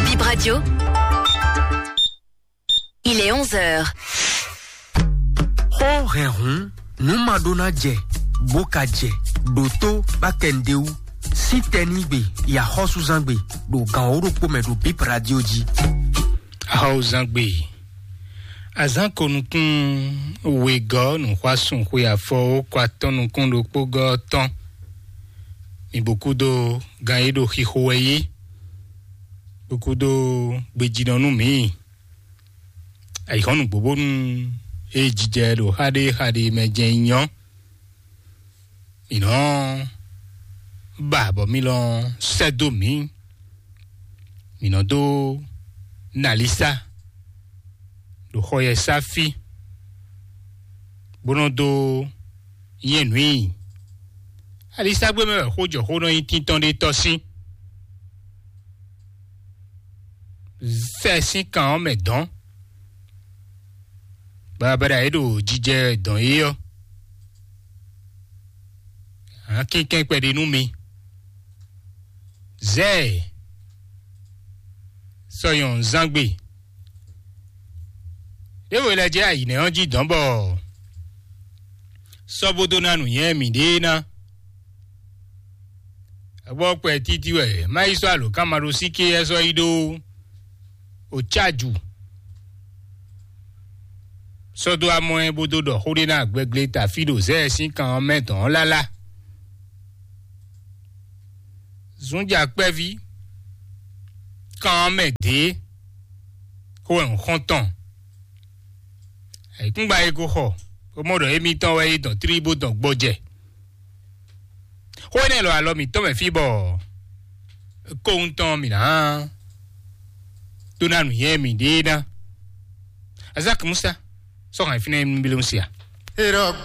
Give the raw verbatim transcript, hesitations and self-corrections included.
Bip Radio. Il est onze heures. Xó hɛn hǔn, nǔ ma ɖó ná jɛ, bó ka jɛ, ɖo tó bá kɛ nǔɖé wú. Sí tɛnígbe, yi axɔ́súzángbe, ɖo gan wǒ ɖokpó mɛ ɖo Bip Radio jí. Axɔ́súzángbe, azán ko nukún wegɔ́ nǔxwásún xwe afɔ ó kɔ atɔ́ nukún ɖokpó gɔ́ tɔn. Mi bó kúdó gan e ɖo xixo wɛ yí, bó kúdó gbejínɔ nú mǐ. Ayǐhɔ́nú gbobónú e jijɛ ɖo xá ɖé xá ɖé mɛ jɛ́n nyɔ́. Mǐ nɔ ba bɔ mí lɔ sɛ́ dó mǐ. Mǐ nɔ dó nalisa ɖo xɔ yɛ sá fí, bó nɔ dó nyɛ nǔ i. Alisagbé mɛ wɛ xó jɔ xó nɔ nyí tíntɔ́n ɖé tɔ́ sín. Sɛ sín kan ɔ́ mɛ dɔn. Babada e ɖo jijɛ dɔn é ɔ́, hǎn kínkɛ́n kpɛɖé nú mi. Zɛ ɛ, sɔ́ nyɔ̌nu zán gbe. Ɖěvo lɛ́ jɛ ayǐ nɛ́ ɔ́ jí dɔn bɔ sɔ́ bó dó ná nǔnywɛ́ mǐɖée ná. Abɔ kpɛ títí wɛ má yi sɔ́ alǒkanmaɖósíké ɛ sɔ́ yi ɖó ocáju. Sɔ́ dó amɔ ɛ bó dó ɖɔ xó ɖé ná gbɛglé tafí ɖo zɛ ɛ sín kan ɔ́ mɛ dɔn ɔ́ lálá. Zunja kpɛví kan ɔ́ mɛ dě xó wɛ un xɔ́n tɔn. Ayǐkúngban e ko xɔ, bó mɔ ɖɔ émítɔn wɛ é dɔn tlí bó dɔn gbɔjɛ. Xó énɛ́ lɔ alɔ mǐtɔn mɛ fí bɔ kóhun tɔn mǐ ná dó ná nǔnywɛ́ mǐɖée ná. Azaki Musa, sɔ́ hɛn fínɛ́ nú Bílímúsi a?